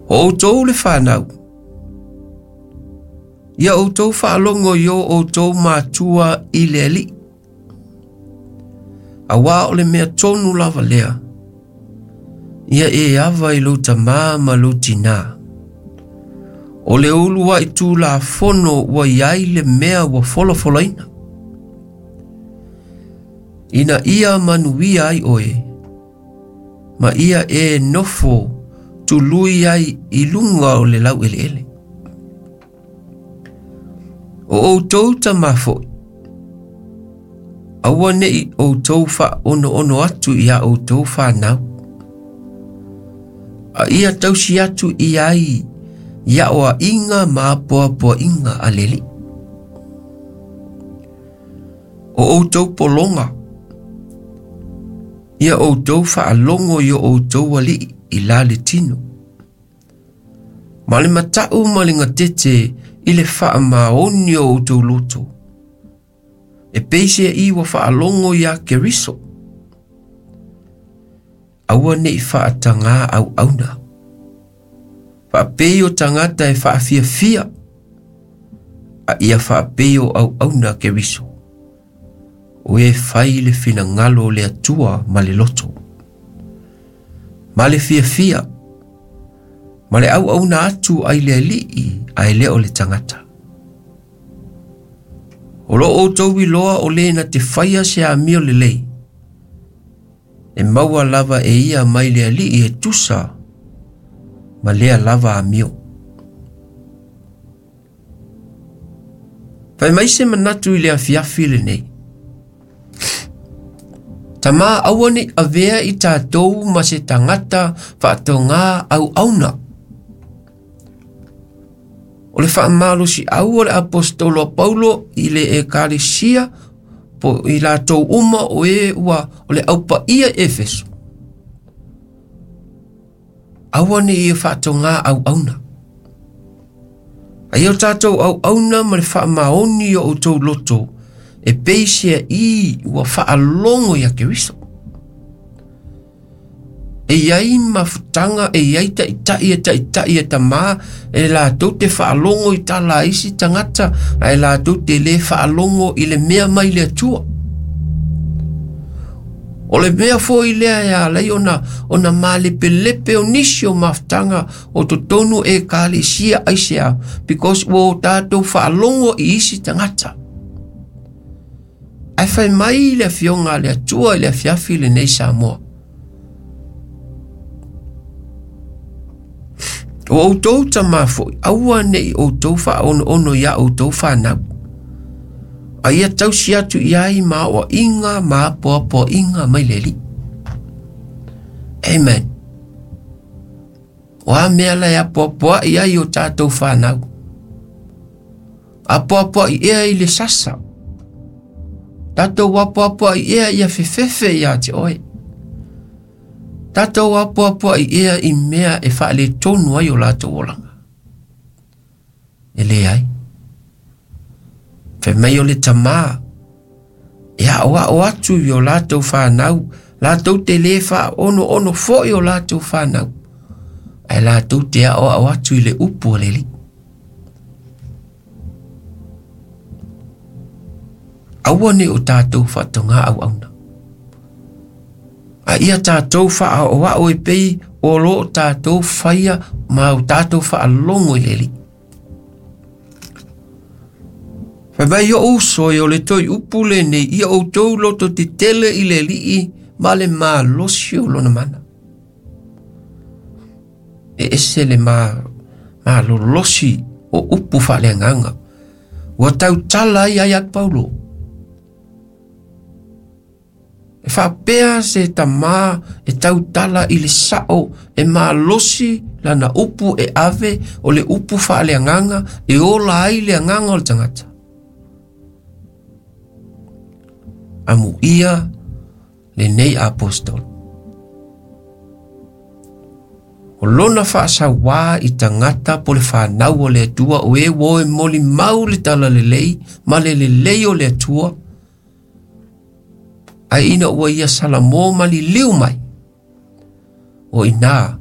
O outou le fanau, ia outou faalogo i o outou matua i le Alii, auā o le mea tonu lava lea, ia e ava i lou tamā ma lou tinā. O le uluai tulafono ua i ai le mea ua folafolaina, ina ia manuia ai oe, ma ia e nofo tului ai i luga o le laueleele. O outou tamā foi, aua neʻi outou faaonoono atu iā outou fanau, a ia tausi atu i ai i aoaiga ma apoapoaiga a le Alii. O outou pologa, ia outou faalogo i o outou alii i la le tino, ma le mataʻu ma le gatete i le faamaoni o outou loto, e peiseai ua faalogo iā Keriso. Aua neʻi faatagā auauna, faapei o tagata e faafiafia, a ia faapei o auauna a Keriso, o e fai le finagalo o le Atua ma le loto, ma le fiafia, ma le auauna atu ai le Alii ae le o le tagata. O lo outou iloa o le na te faia se amio lelei, e maua lava e ia mai le Alii e tusa ma lea lava amio. Fai mai se manatu i le afiafi lenei. Tamā, aua neʻi avea i tatou ma se tagata faatogā auauna. O le faamalosiau o le aposetolo a Paulo i le ekalesia po i latou uma o e ua o le aupaia i Efeso. Aua neʻi ia faatogā auauna. A ia o tatou auauna ma le faamaoni o outou loto e peiseai ua faalogo iā Keriso. E i ai mafutaga, e i ai taitai e taitai e tamā, e latou te faalogo i tala a isi tagata, ae latou te lē faalogo i le mea mai le Atua. O le mea foi lea e ala ai ona, ona malepelepe o nisi o mafutaga o totonu o ekalesia aisea, because ua o tatou faalogo i isi tagata. Ae fai mai le Afioga a le Atua i le afiafi lenei Samoa. O outou tamā foi, aua neʻi outou faaonoono iā outou fanau, a ia tausi atu i ai ma aoaiga ma apoapoaiga mai le Alii. Amen. O a mea la e apoapoai ai o tatou fanau? Apoapoai ea i le sasa. Tatou apoapoai ea ia fefefe iā te oe. Tatou apoapoai ea i mea e faaletonu ai o latou olaga. E leai. Fai mai o le tamā e aʻoaʻo atu i o latou fanau, latou te lē faaonoono foi o latou fanau, ae latou te aʻoaʻo atu i le upu a le Alii. Aua neʻi o tatou faatogā auauna, a ia tatou faaoaoa e pei o lo o tatou faia ma o tatou faalogo i le Alii. Fai mai oʻu uso e o le toe upu lenei, ia outou loto tetele i le Alii ma le malosi o lona mana. E ese le ma, malolosi o upu faaleagaga. Ua tautala ai ai a Paulo. E faapea se tamā e tautala i le sao e malosi lana upu e ave o le upu faaleagaga e ola ai le agaga o le tagata. Amuia lenei apostolo. O lona faasauā i tagata po le fanau o le Atua o e ua o e molimau le talalelei ma le lelei o le Atua, ae ina ua ia salamo ma liliu mai, o i inā